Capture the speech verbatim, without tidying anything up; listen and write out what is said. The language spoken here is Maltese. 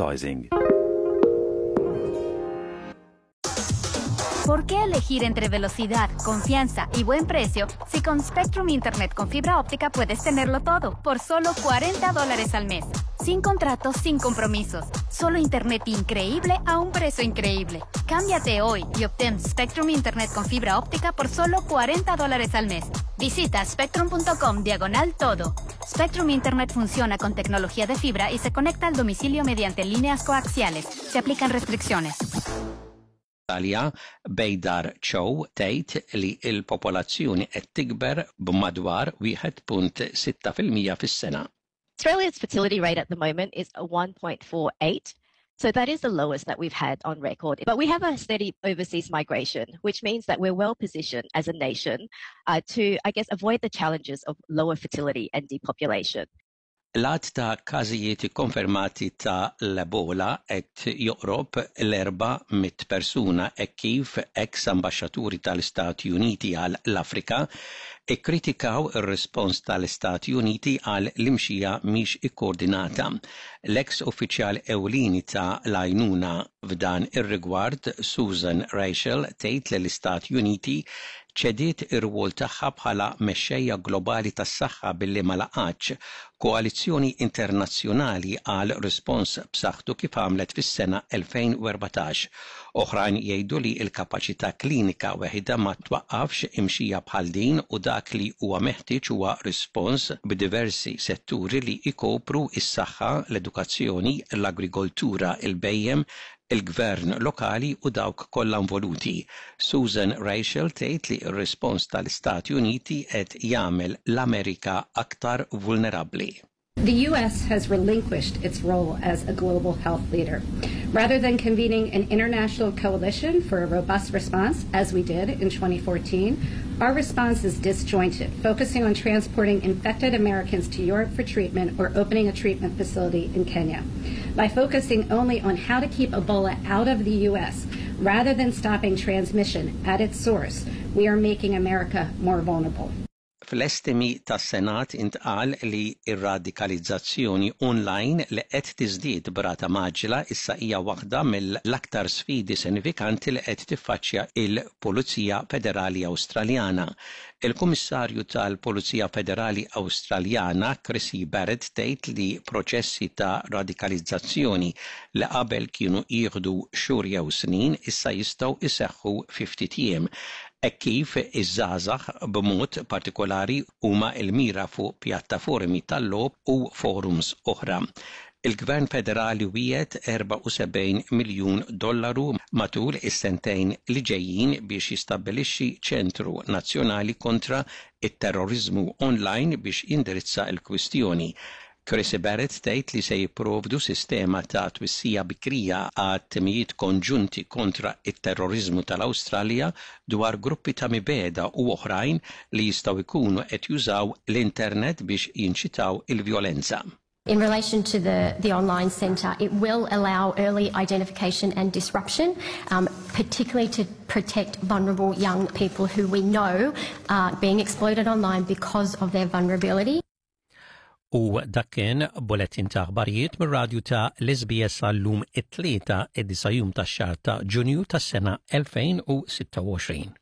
Advertising. ¿Por qué elegir entre velocidad, confianza y buen precio si con Spectrum Internet con fibra óptica puedes tenerlo todo por solo cuarenta dólares al mes? Sin contratos, sin compromisos. Solo internet increíble a un precio increíble. Cámbiate hoy y obtén Spectrum Internet con fibra óptica por solo cuarenta dólares al mes. Visita spectrum punto com diagonal todo. Spectrum Internet funciona con tecnología de fibra y se conecta al domicilio mediante líneas coaxiales. Se aplican restricciones. Australia Beidar Chow tgħid li l-popolazzjoni qed tikber b'madwar wieħed punt sitta fil-mija fis-sena. Australia's fertility rate at the moment is one point four eight. So that is the lowest that we've had on record. But we have a steady overseas migration, which means that we're well positioned as a nation uh, to, I guess, avoid the challenges of lower fertility and depopulation. L-għadd ta' każijiet ikkonfermati ta' l-Ebola qed joqrob l-erba' mitt persuna e kif ex ambaxxaturi tal-Istati Uniti għal l-Afrika ikkritikaw ir-rispons tal-Istati Uniti għal l-imxija mhix ikkoordinata. L-ex uffiċjal ewlieni ta' l-għajnuna f'dan ir-rigward, Susan Rachel, tgħid li l-Istati Uniti ċediet ir-rwol tagħha bħala mexxejja globali tas-saħħa billi ma laqgħatx koalizzjoni internazzjonali għal rispons b'saħħtu kif għamlet fis-sena elfejn u erbatax. Oħrajn jgħidu li l-kapaċità klinika weħida ma twaqqafx imxija bħal din u dak li huwa meħtieġ huwa rispons b'diversi setturi li jkopru is-saħħa, l-edukazzjoni, l-agrikoltura, il-bejjem, il-gvern lokali u dawk kollha involuti. Susan Rachel tgħid li r-rispons tal-Istati Uniti qed jagħmel l-Amerika aktar vulnerabbli. The U S has relinquished its role as a global health leader. Rather than convening an international coalition for a robust response, as we did in twenty fourteen, our response is disjointed, focusing on transporting infected Americans to Europe for treatment or opening a treatment facility in Kenya. By focusing only on how to keep Ebola out of the U S rather than stopping transmission at its source, we are making America more vulnerable. Fl-estimi tas-Senat intqal li ir-radikalizzazzjoni online li qed tiżdied b'rata mgħaġġla issa hija waħda mill-aktar sfidi sinifikanti li qed tiffaċċja il-Pulizija Federali Awstraljana. Il-Kummissarju tal-Pulizija Federali Awstraljana Krissy Barrett tgħid li proċessi ta' radikalizzazzjoni li qabel kienu jieħdu xhur jew snin issa jistgħu iseħħu fi ftit jiem e kif iż-żgħażagħ b'mod partikolari huma l-mira fuq pjattaformi tal-logħob u forums oħra. Il-Gvern Federali wiegħed erbgħa u sebgħin miljun dollaru matul is-sentejn li ġejjin biex jistabbilixxi ċentru nazzjonali kontra it-terrorizmu online biex jindirizza l-kwistjoni. Krissy Barrett tgħid li se jipprovdu sistema ta' twissija bikrija għat timijiet konġunti kontra it-terrorizmu tal-Awstralja dwar gruppi ta' mibegħda u oħrajn li jistgħu jkunu qed jużaw l-internet biex jinċitaw il-vjolenza. In relation to the, the online centre, it will allow early identification and disruption, um, particularly to protect vulnerable young people who we know are being exploited online because of their vulnerability. U dak kien bulletin ta' aħbarijiet mir-radju ta' l-S B S għal-lum it-Tlieta id-disa' jum tax-xahar ta' Ġunju tas-sena elfejn u sitta u għoxrin.